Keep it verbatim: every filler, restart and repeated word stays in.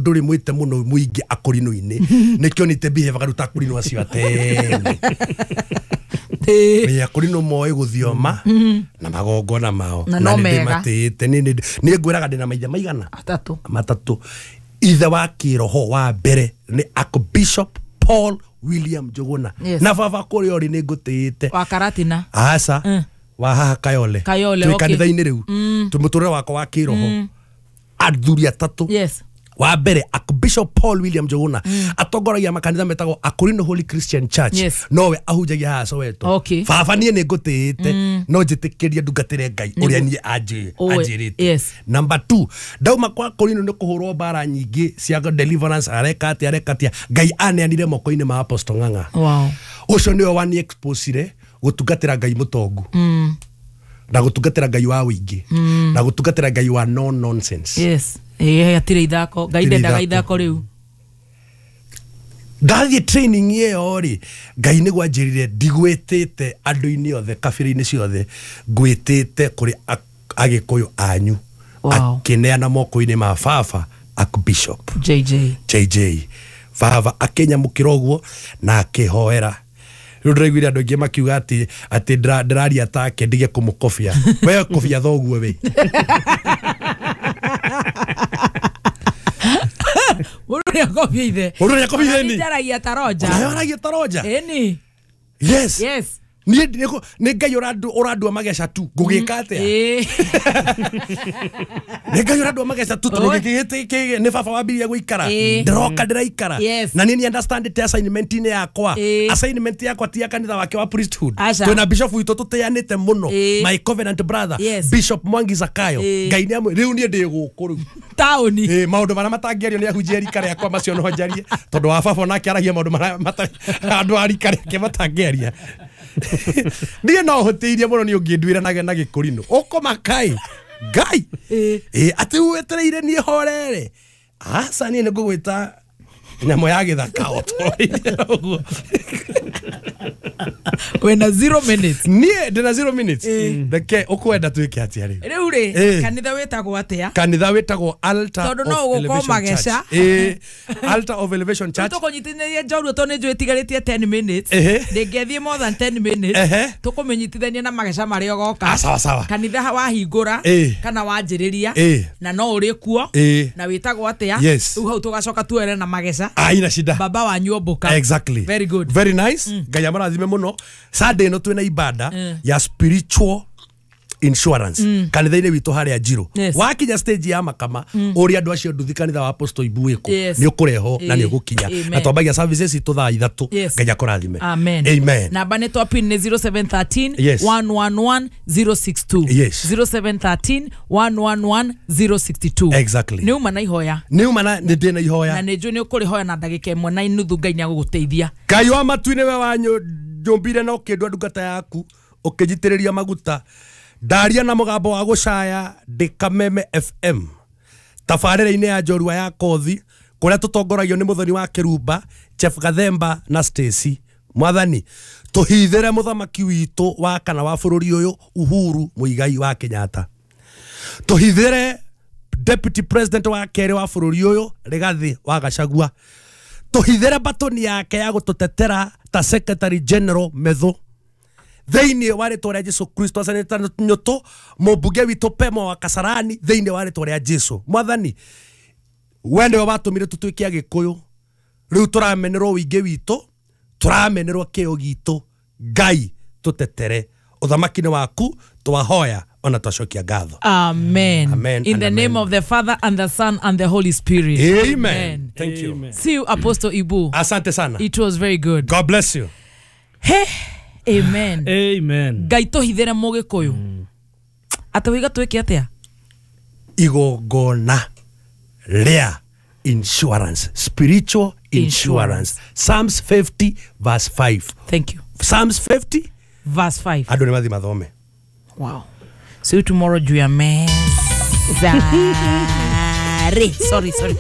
Ndũrĩ mwĩte mũno mũingĩ akũrinũ-inĩ nĩkĩo nĩte behave garuta akũrinũ acio atene. Ĩ akũrinũ moĩ gũthioma na magongona mao na no nĩ mega. ndĩmatĩĩte. Nĩ nĩ ngwĩraga ndĩna maithe maigana atatũ matatũ. Ithe wa kĩroho wa mbere nĩ Archbishop Paul William Njuguna. Yes. Na baba kũrĩa ũrĩ nĩ ngũtĩĩte. Wa Karatina. Aca Mm. wa haha Kayole. Kayole, twĩ okay. kanitha-inĩ rĩu twĩ mũtũrĩre wakwa wa kĩroho athuri atatũ. Yes. Wa mbere Archbishop Paul William Njuguna atongoragia makanitha metagwo Akorino Holy Christian Church. Yes. Nowe ahunjagia haha Soweto. Okay. Baba niĩ nĩ ngũtĩĩte no njĩtĩkĩrie ndungatĩre Ngai ũrĩa niĩ anjĩ- Ũĩ, anjĩrĩte. yes. Number two, ndauma kwa Akorino nĩ kũhũrwo mbara nyingĩ cia deliverance areka atĩa areka atĩa Ngai aneanire moko-inĩ ma Apostle Ng'ang'a. Wow. Ũcio nĩwe wani exposire gũtungatĩra Ngai mũtongu Mm. na gũtungatĩra Ngai wa wĩingĩ na gũtungatĩra Ngai wa no nonsense. Yes. Ĩ hatirĩ ithako. Ngai Hatirĩ ndendaga ithako. ithako rĩu. Ndathiĩ training ĩyo rĩ Ngai nĩguo anjĩrire ndigwĩtĩte andũ-inĩ othe kabira-inĩ ciothe ngwĩtĩte kũrĩ a- agĩkũyũ anyu. Wow. Akĩneana moko-inĩ ma baba Archbishop J J. J J. Baba akĩnyamũkĩra ũguo na akĩhoera. Rĩu ndĩraiguire andũ aingĩ makiuga atĩ atĩ ndĩra- ndĩraria take ndige kũmũkobia. We kobia thoguo we. Mũndũ nĩakobia ithe. Mũndũ nĩakobia ithe ni. Njaragia ta Roger. Ona aragia ta Roger. Ĩni. Yes. Yes. Niĩ nĩ nĩ Ngai ũrandua ũrandua mageca tu ngũgĩka atĩa? Ĩ. Nĩ Ngai ũrandua mageca tu tondũ Oi. gĩkĩ gĩkĩ nĩ baba wambirie gũikara. Ĩ. Ndĩroka ndĩraikara. Yes. Na niĩ nĩ understand te assignment-inĩ yakwa. Ĩ. Assignment yakwa ti ya kanitha wake wa priesthood. Aca. Twĩna bishop witũ tũtĩanĩte mũno. Ĩ. My covenant brother Yes. Bishop Mwangi Zakayo. Ĩ. Ngai nĩ amwe rĩu niĩ ndĩ gũkũ rĩu. Taũni. Ĩ maũndũ marĩa matangĩario nĩ ahunjia rika rĩakwa macio no njarie tondũ wa baba onake aragia maũndũ marĩa matarĩ andũ a rika rĩake matangĩaria. Niĩ no hũtĩirie mũno nĩ ũngĩnduĩra na na gĩkũrinũ ũkũmakai Ngai. Ĩ. Ĩ atĩ wetereire niĩ horere aca niĩ nĩ ngũgwĩta nyamũ ya gĩthaka o tũrorire ũguo. Wĩna zero minutes. Niĩ ndĩna zero minutes. Reke ũkwenda twĩke atĩa rĩu? Rĩu rĩ Ĩ. kanitha wĩtagwo atĩa? Kanitha wĩtagwo Altar Tondũ of no ũgũkorwo Elevation mageca. Church. Ĩ, Altar of Elevation Church. Tũkũnyitithania njorua tondũ nĩ njũĩ ĩtigarĩtie ten minutes. Ehe. Ndĩngĩthiĩ more than ten minutes. Ehe. Tũkũmĩnyitithania na mageca marĩa ũgoka. Ah, sawa sawa. Kanitha wahingũra Ĩ. kana wanjĩrĩria Ĩ. na no ũrĩ kuo Ĩ. na wĩtagwo atĩa? Yes. Rĩu hau tũgacoka tuere na mageca. Aina shida. Baba wanyu omboka. Exactly. Very good. Very nice. Ngai amarathime mũno. Sunday ĩno twĩna ibada Mm. ya spiritual insurance kanitha-inĩ witũ harĩa Njirũ. Yes. Wakinya stage ya Makama ũrĩa andũ acio nduthi kanitha wa Apostle Ibu wĩkũ Yes. nĩ ũkũrehwo na nĩ Ĩ. ũgũkinya. Amen. Na twambagia services citũ thaa ithatũ. Yes. Ngai akũrathime. Amen. Amen. Namba nĩ twa pin nĩ zero seven thirteen Yes. one one one zero six two. Yes. zero seven thirteen one one one zero six two. Exactly. Nĩ uma na ihoya. Nĩ uma na nĩ ndĩ na ihoya. Na nĩ njũĩ nĩ ũkũrĩhoya na ndagĩka ĩmwe na inuthu Ngai nĩ agũgũteithia. Ngai wa matu-inĩ we wanyũmbire na ũkĩndua ndungata yaku ũkĩnjitĩrĩria maguta ndaria na mũgambo wa gũcaya ndĩ Kameme F M tabarĩra-inĩ ya njorua ya kothi kũrĩa tũtongoragio nĩ mũthoni wa Kĩrumba Jeff Gathemba na Stacy. Mwathani tũhithĩre mũthamaki witũ wa kana wa bũrũri ũyũ Uhuru Muigai wa Kenyatta, tũhithĩre deputy president wa kerĩ wa bũrũri ũyũ Rigathi wa Gachagua, tũhithĩre batoni yake ya gũtũtetera ta secretary general Methu thĩinĩ wa rĩtwa rĩa Jesu Kristo. Acanĩta nyũtũ mũmbunge witũ Pemo wa Kasarani thĩinĩ wa rĩtwa rĩa Jesu. Mwathani we nĩwe watũmire tũtuĩke Agĩkũyũ, rĩu tũramenerwo wĩingĩ witũ, tũramenerwo kĩo gitũ. Ngai tũtetere ũthamaki-inĩ waku, twahoya ona twacokia ngatho. Amen. Amen In and the amen. name of the Father and the Son and the Holy Spirit. Amen. Amen. Thank you. Amen. See you, Apostle Ibu. Asante sana. It was very good. God bless you. Hey. Amen. Amen. Ngai tũhithĩre mũgĩkũyũ. Atĩ wĩiga twĩke atĩa? Igongona rĩa insurance, spiritual insurance. Psalms fifty verse five. Thank you. Psalms fifty verse five. Andũ nĩ mathiĩ mathome. Wow. See you tomorrow juu ya meza. Sorry, sorry, sorry.